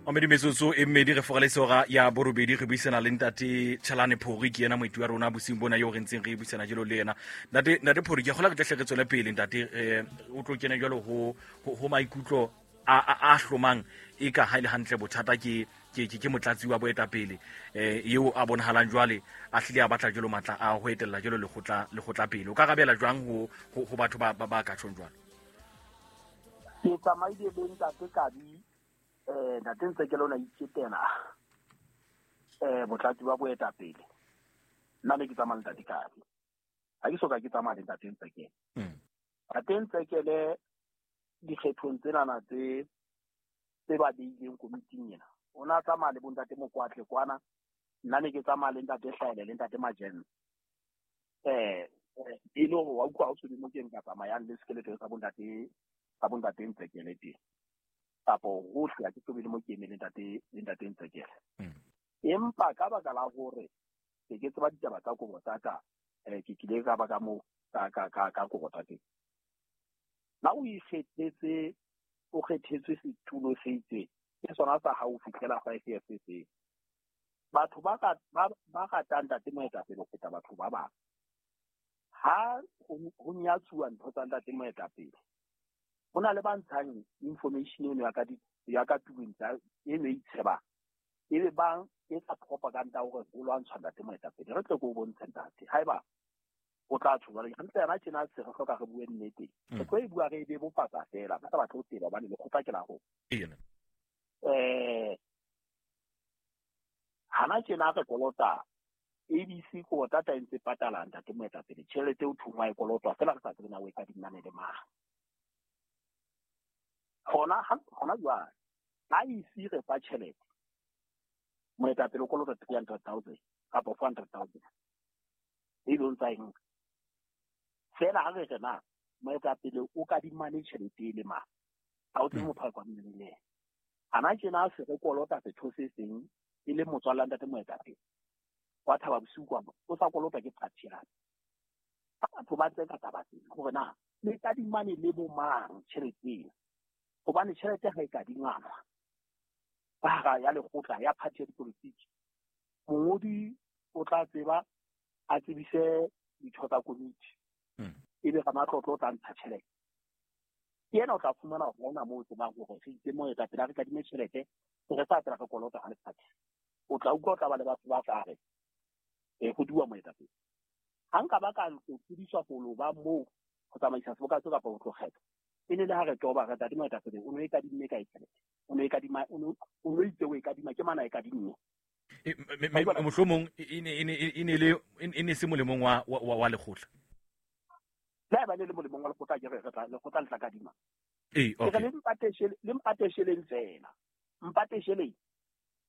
Mamedi metsotso e mmedi re fogale sora ya borobedi re buisana le ntate Chalane Phori ke yena moeti wa rona bosiung bona eo re ntseng re buisana jalo le yena. Ntate Phori ke kgola re tlehle re tswele pele ntate o tlo kena jalo ho maikutlo a hlomang e ka ha ile hantle bothata ke ke motlatsi wa boetapele eo a bonahalang jwale a hlile a batla jalo matla a ho etella jalo lekgotla pele. O ka rabela jwang ho batho ba ka tjhong jwalo? Ke tsamaile le ntate Kabi ntate ntse ke lona iketela botlatsi ba boetapele. Nna ne ke tsamaya le ntate Kabi. Ha ke soka ke tsamaya le ntate Ntsekele. Ntate Ntsekele dikgethong tsenana tse ba beileng komiting ena. O na tsamaya le bontate Mokwatle kwana. Nna ne ke tsamaya le ntate Hlaele le ntate Majene. E le hore wa utlwa ha o se mo ke nka tsamayang le sekeleto sa bontate Ntsekele teng. Kapo hohle ha ke so be le mo ke emeng le ntate Ntsekele. Empa ka baka la hore ke tseba ditaba tsa Kobotata, ke kile ka ba ka mo ka Kobotata teng. Na o ikgethetse, o kgethetswe setulo se itseng, ke sona sa hao ho fihlela 5 years se seng. Batho ba ratang ntate moetapele ho feta batho ba bang. Ha ho nyatsuwa ntho tsa ntate moetapele, ho na le ba ntshang information eno ya ka tulong tsa eno e itshebang. Ebe bang e tsa propaganda hore ho lwantshwa ntate moetapele. Re tle ke o bontshe ntate. Haeba o tla tjho jwale, hantle yena tjena se re hloka re bue nnete. Re tlo e bua re e bebofatsa fela, ba sa batle ho tseba hobane lekgotla ke la rona. Hana tjena re kolota ABC Kobotata e ntse patala ntate moetapele tjhelete o thungwa e kolotwa fela re sa tsebe na o e kadimane le mang. Hona jwale ha isi re fa tjhelete moetapele o kolota 300,000 kapa 400,000 e lo ntsa eng fela ha re re na moetapele o kadimane tjhelete e le mang ha o tsebe motho a kadimane le yena. Hana tjena se re kolota setho se seng e le motswalla ntate moetapele wa Thaba Bosiu kwa o sa kolota ke party ya. Ha batho ba tseka taba tsena hore na le kadimane le bo mang tjhelete ena, hobane tjhelete ha e kadingwana ka hara ya lekgotla ya party ya dipolotiki, mongodi o tla tseba a tsebise ditho tsa komiti, ebe ramatlotlo o tla ntsha tjhelete. Ke yena o tla fumana hore ha hona moo o tsebang hore re itse moetapele a re kadime tjhelete, re sa tsela re kolota ha lefatshe. O tla utlwa o tla ba le batho ba tla re ho duwa moetapele. Ha nka ba ka ntlo tsebiswa ho lo ba moo ho tsamaisa seboka seo kapa ho tlo kgetha, e ne le ha re toba re ntate moetapele o no e kadimme kae tjhelete? O no e kadima, o no itse o e kadima, ke mana e kadimme. Mohlomong e ne se molemong wa lekgotla. Le haeba le le molemong wa lekgotla, ke re re tla lekgotla le tla kadima. Okay. Ke re le mpatesheleng fela. Mpatesheleng.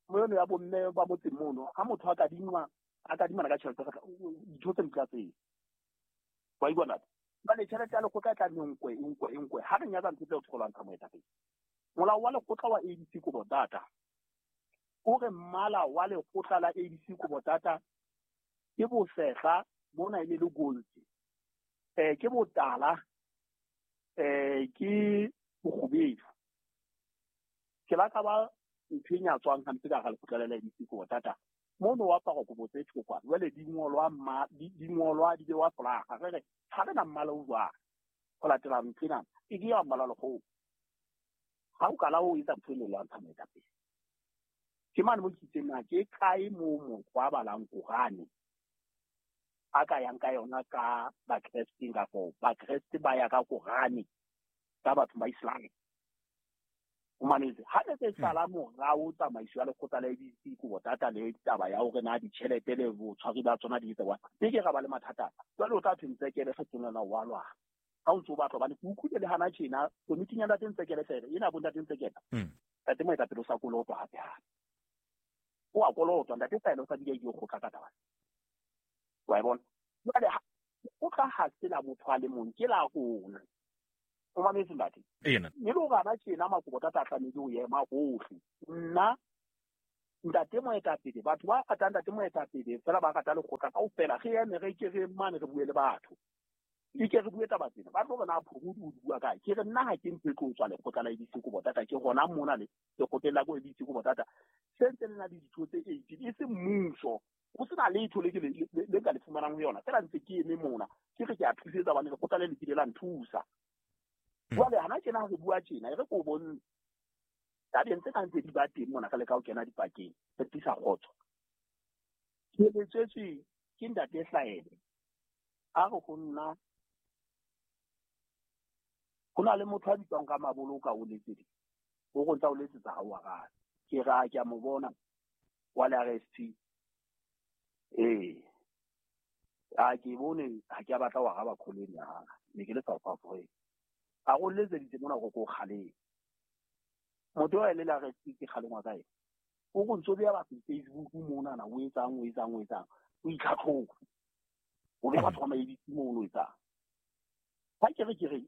Mono ya bomme ba motseng mono, ha motho a kadingwa, a kadimana ka tjhelete, ditho tse di tla tseo. Wa utlwa ntate? Jwale tjhelete ya lekgotla e tla nne nkwe, nkwe, nkwe. Ha re nyatsa ntho tseo re lwantsha moetapele. Molao wa lekgotla wa ABC Kobotata o re mmala wa lekgotla la ABC Kobotata ke bosehla, mona e le le gold. Ke botala, ke bokgubedu. Ke la ka ba ntho e nyatswang hampe ka hara lekgotla la ABC Kobotata. Mono wa apara kobo tse thokwa, jwale di ngolwa di ngolwa di bewa folaga. Re re ha re na mmala o jwang ho latela ntho ena, e ke ya mmala lekgowa. Ha o kala o etsa ntho e le lwantsha moetapele. Ke mane mo ke itseng na ke kae moo motho a balang Korane a ka yang ka yona ka Bakresteng, kapo Bakreste ba ya ka Korane ka batho ba Islam. O mametse, ha re tse sala morao tsamaiso ya lekgotla la ABC Kobotata le taba ya hore na ditjhelete le botshwari ba tsona di etsa jwang, ke ke ra ba le mathata. Jwale o tla thwe Ntsekele kgethong lena wa lwana. Ha o ntso o batla, hobane ke utlwile le hana tjena komiting ya ntate Ntsekele fela, ena bo ntate Ntsekele. Ntate moetapele o sa kolotwa hape hape. O a kolotwa, ntate Hlaele o sa bile a ile kgotla ka taba. Wa e bona? Jwale o tla ha se la motho a le mong, ke la rona. O mametse ntate? Ena. Mme le hore hana tjena Makobotata a tlamehile ho ema hohle. Nna ntate moetapele, batho ba ratang ntate moetapele fela ba rata lekgotla kaofela, re eme re ke re mane re bue le batho. Ke ke re bue taba tsena, ba tlo re na Phorodi o di bua kae? Ke re nna ha ke ntho e tlo tswa lekgotla la ABC Kobotata, ke hona mona le lekgotleng la ko ABC Kobotata se ntse le na le ditho tse 18, e se mmuso, ho sena letho le ke le ka le fumanang ho yona. Feela ntse ke eme mona, ke re ke a thusetsa hobane lekgotla le le kile la nthusa. Jwale hana tjena ha re bua tjena, e re ko bontshe tabeng tse kang tse di ba teng mona, re leka ho kena dipakeng, re tlisa kgotso. Ke letsetswe ke ntate Hlaele, a re ho nna ho na le motho a bitswang ka Maboloka o letseditse, o re o ntsa o letsetsa ha o arabe. Ke re a ke a mo bona wa le RSP. Ee, a ke bone ha ke a batla ho araba call ena ya hae, ne ke le South Africa. A re o letseditse mona hore ke o kgaleme. Motho eo le le RSP ke kgalengwa ka ena. O re o ntso beha batho Facebook monana, o etsang, o etsang, o etsang, o itlhatlhoba. O beha batho ba ma-ABC mono o etsang. Ha ke re ke re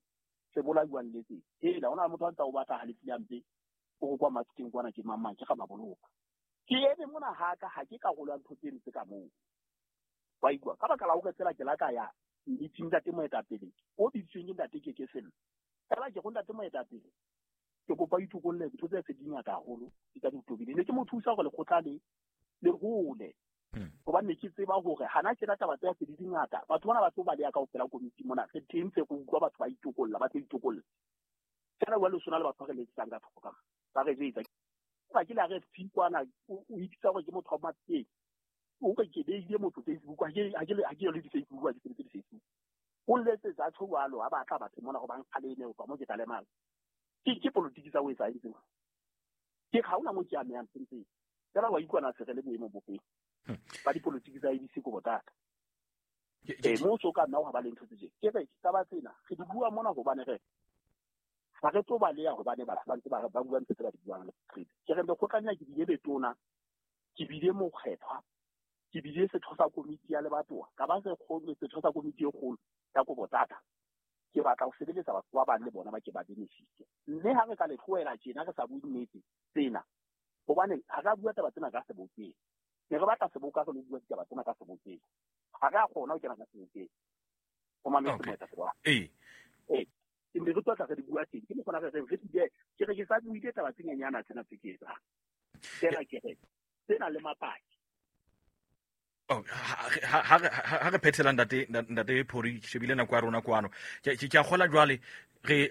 se bolaiwang letseng. Hela, ho na le motho a ntsa o batla halefile hampe, o re kwa Mafikeng kwana ke mang mang, ke ga Maboloka. Ke eme mona ha ka, ha ke karolo ya ntho tseno tse ka moo. Wa ikutlwa? Ka baka la hore tsela ke la ka ya meeting ntate moetapele, o bitsweng ke ntate Keke Sello. Feela ke go ntate moetapele, ke kopa o itokolle ntho tse se di ngata haholo, di tsa di tobile. Ne ke mo thusa hore lekgotla le le hole. Hobane ne ke tseba hore hana tjena taba tse se di di ngata, batho bana ba tlo baleha kaofela komiti mona. Re teng tse re utlwa batho ba itokolla, ba tlo itokolla. Feela jwale o sona le batho ba re letsetsang ka thoko ka mo, ba re jwetsa. Ba ke le RFP kwana, o ipitsa hore ke motho wa Mafikeng. O re ke beile motho Facebook, ha ke yo le di-Facebook, ha ke sebetse di-Facebook. O letsetsa tjho jwalo, ha batla batho mona ho bang kgaleme, ho tswa mo ke tla lemala. Ke politiki tsa o etsa eng tseo? Ke ha hona mo ke amehang nthong tseo. Feela wa utlwa se re le boemong bo feng. Ba dipolotiki tsa ABC Kobotata. Mo so ka nna ho ba le ntho tse tje. Ke re taba tsena re di bua mona hobane re ha re tlo baleha hobane batho ba ntse ba ba bua ntho tse ba di buang le Qete. Ke re lekgotlanya ke bile letona, ke bile mokgethwa, ke bile setho sa komiti ya lebatowa, ka ba setho sa komiti e kgolo ya Kobotata. Ke batla ho sebeletsa batho ba bang le bona ba ke ba benefit. Mme ha re ka le tlohela tjena re sa bue nnete tsena, hobane ha re a bua taba tsena ka sebokeng. Ne re batla seboka re lo bua ditaba tsena ka sebokeng. Ha re a kgona ho kena ka sebokeng. O mametse moetapele wa. Ee. Ee. Ne re tlo tla re di bua teng. Ke mokgona re reng re di bue. Ke re ke sa buile taba tse nyenyana tsena tse ke etsang. Tsena ke re tsena le mapaki. Oh, ha re phethela ntate Phori, ke shebile nako ya rona kwano. Ke a kgola jwale re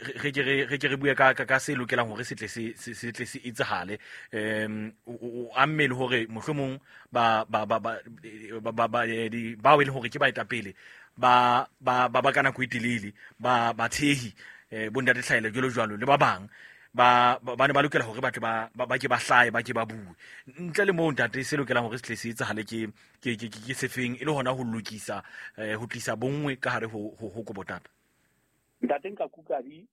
ke re bue ka se lokelang hore se tle se tle se etsahale. O amme le hore mohlomong ba bao e leng hore ke baetapele ba ba ka nako e telele, ba thehi, bo ntate Hlaele jwalo jwalo le ba bang, ba ne ba lokela hore ba tle ba ke ba hlahe, ba ke ba bue. Ntle le moo ntate, se lokelang hore se tle se etsahale ke sefeng e le hona ho lokisa, ho tlisa bonngwe ka hare ho Kobotata? Ntate nka Kukabi,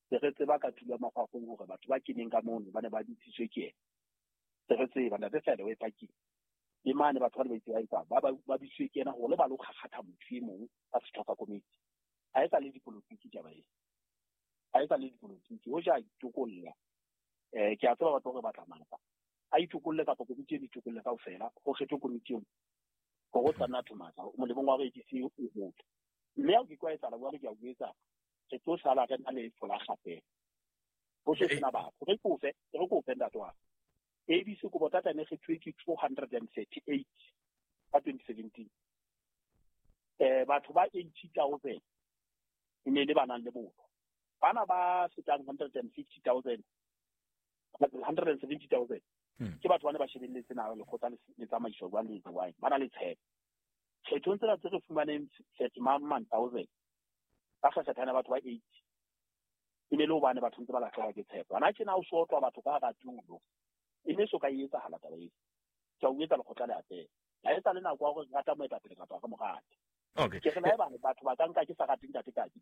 se re tseba ka tulo ya makgwafong hore batho ba keneng ka mono ba ne ba bitsitswe ke yena. Se re tseba, ntate Hlaele o e pakile. Le mane batho ba ne ba itse ba etsang, ba bitsitswe ke yena hore le ba lo kgakgatha motho e mong ka setho sa komiti. Ha e sa le dipolotiki taba e. Ha e sa le dipolotiki, hoja a itokolla. Ke a tseba batho ba re batla matla. A itokolle kapa komiti e itokolle kaofela, ho kgethwe komiti eo. Hore o tla nna matla, molemong wa hore ABC o hole. Mme ha o ke kwa etsahala jwalo, ke a o etsa, re tlo sala re na le folaga fela. Ho se sena batho. Re kofe ntate wa ka. ABC Kobotata ne kgethuwe ke 238 ka 2017. Batho ba 80,000 e ne le ba nang le botho. Bana ba fetang 150,000, 170,000 ke batho ba ne ba shebelletse na lekgotla le tsamaiso jwang le jwang, ba na le tshepo. Kgethong tsena tse re fumaneng thirty man thousand, ba kgekgethana batho ba 80. E ne le hobane batho ntse ba lahlehelwa ke tshepo. Hana tjena o so otlwa batho ka hara tulo. E ne so ka e etsahala taba eo. Ke a o etsa lekgotla le atleha. Ha e sa le nako ya hore re rata moetapele kapa re mo rate. Okay. Ke re le haeba batho ba ka nka ke sa rate ntate Kabi.